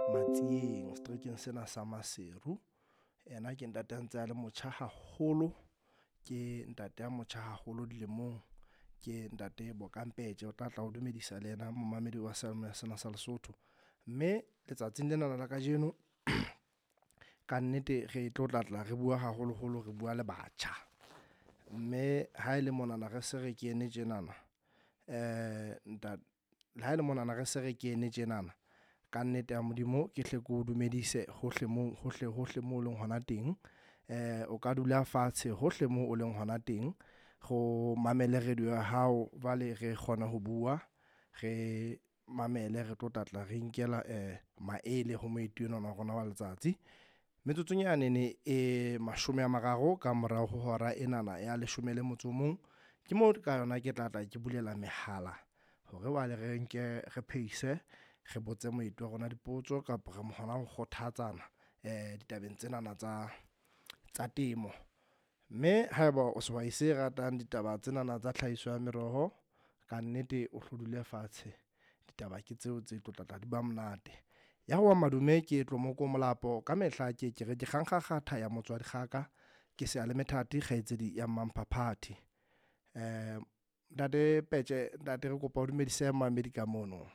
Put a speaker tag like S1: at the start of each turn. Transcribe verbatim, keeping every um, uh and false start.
S1: Matsieng seterekeng sena sa Maseru. Ena ke ntate a ntse a le motjha haholo, ke ntate a motjha haholo dilemong, ke ntate Bokang Peje o tla tla o dumedisa le yena momamedi wa seyalemoya sena sa Lesotho. Mme letsatsing lena la kajeno ka nnete re tlo tla tla re bua haholoholo re bua le batjha. Mme ha e le monana re se re kene tjenana eh ha e le monana re se re kene tjenana ka nnete ya Modimo ke hle ke o dumedise hohle moo hohle hohle moo o leng hona teng. Eh o ka dula fatshe hohle moo o leng hona teng go mamele radio ya hao jwale re kgona ho bua re mamele re tlo tla tla re inkela eh maele ho moeti enwa wa rona wa letsatsi. Metsotsong yane e mashome a mararo ka morao ho hora enana ya leshome le motso o mong ke moo ka yona ke tla tla ke bulela mehala hore wale re nke re phehise re botse moeti wa rona dipotso kapa re hona ho kgothatsana eh ditabeng tsenana tsa tsa temo. Mme haeba o sehwai se ratang ditaba tsenana tsa tlhahiso ya meroho, ka nnete o hlo dule fatshe ditaba ke tseo tse tlo tla tla di ba monate. Ya ho wa madume ke Tlomoko Molapo ka mehla ke ke re ke kgankgakgatha ya motswadi kgaka ke seyalemethathi kgaitsedi ya Mmamphaphati. Eh ntate Peje ntate re kopa o dumedise mamedi ka mono.